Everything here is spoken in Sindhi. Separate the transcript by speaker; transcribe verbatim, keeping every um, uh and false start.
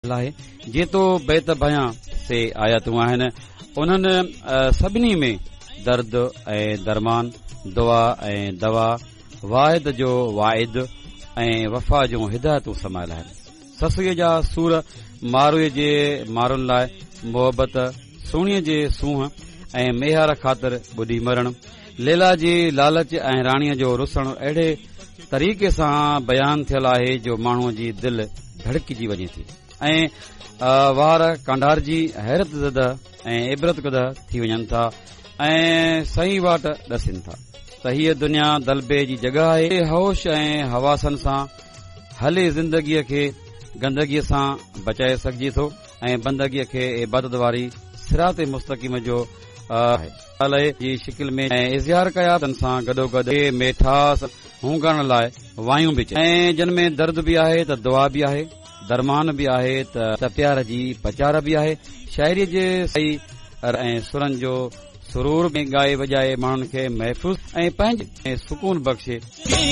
Speaker 1: آهي. جيتو بيت بيان سي آيتون آهن، انهن سڀني ۾ درد ۽ درمان، دعا ۽ دوا، واحد جو واعد ۽ وفا جون هدايتون سمايل آهن. سسئيء جا سور ماروء جي مارن لاء محبت، سهڻيء جي سونهن ۽ ميهار خاطر ٻڏي مرڻ، ليلا جي لالچ ۽ راڻيء جو رسڻ اهڙي طريقي سان بيان ٿيل آهي جو ماڻهوء جي دل ڌڙڪجي وڃي ٿي ۽ وار ڪانڊارجي حيرت زده ۽ عبرت ڪده ٿي وڃن ٿا ۽ صحيح واٽ ڏسين ٿا ته هيء دنيا دلبي جي جڳهه آهي. هوش ۽ حواسن سان هلي زندگيء کي گندگيء سان بچائي سگهجي ٿو ۽ بندگيء کي عبادت واري صراط مستقيم جو آهي. جي شڪل ۾ اظهار ڪيا تن سان گڏوگڏ ميٺاس هونگارڻ لاء وايون به چيون ۽ جن ۾ درد به آهي ته دعا به آهي، درمان به آهي ته پيار جي پچار به آهي. شاعريء جي ۽ سرن جو سرور ۾ ڳائي وڄائي ماڻهن کي محفوظ ۽ پنهنجي سڪون بخشي.